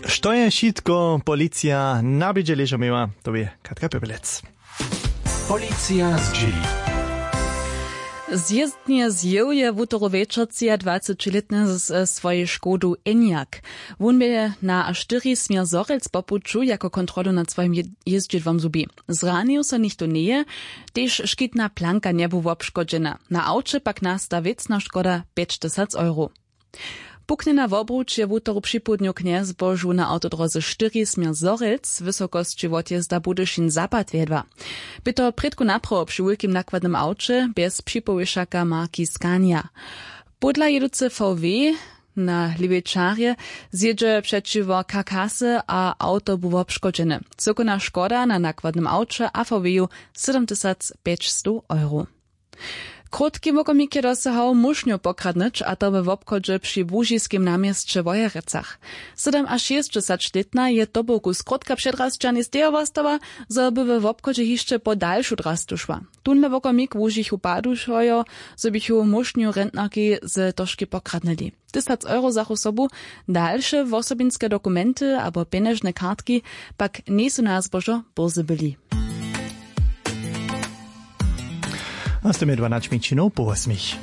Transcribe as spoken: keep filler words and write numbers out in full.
Što je wšitko policija na bědźe ležo měła, to bě Katka Pěpelec. Policija zdźěli. Zjězdnje zjeł je wutoru wječor třiadwacećilětny z swojej škodu Enyaq. Wón bě na štyri směr zhorjelc po puću jako kontrolu nad swojim jězdźidłom zhubił. Zranił so nichtó njeje. Tež škitna planka njebu wobškodźena. Na awče pak nasta wěcna škoda pjećtysac euro. Puknjena wobruč je wutoru připołdnju knjezbožu na awtodróze štyri směr zhorjelc w wysokosći wotjezda budyšin zapad wjedła. Bě to prědku naprawo při wulkim nakładnym awće bjez připołěšaka marki Scania. Podla jěducy vw na lěwej čarje zjědźe přećiwo kakasy a awto bu wobškodźeny. Cyłkowna škoda na nakładnym awće a vw-ju sydomtysac pjećstow euro. Krótki wokomik je dosahał mušnju pokradnyć, a to we wobchodźe při łužiskim na měsće w wojerecach. Sydomašěsćdźesaćlětna je to boku skrótka předrasća njestejo wostała, zo by we wobchodźe hišće po dalšu drastu šła. Tónle wokomik łužichu padušojo, zo běchu mušnju rentnarki z toški pokradnyli. Tysac euro zachu sobu. Dalše wosobinske dokumenty abo pjenježne kartki pak njejsu na zbožo bórze byli. A z tym je dwanaće mjeńšinow po wosmich.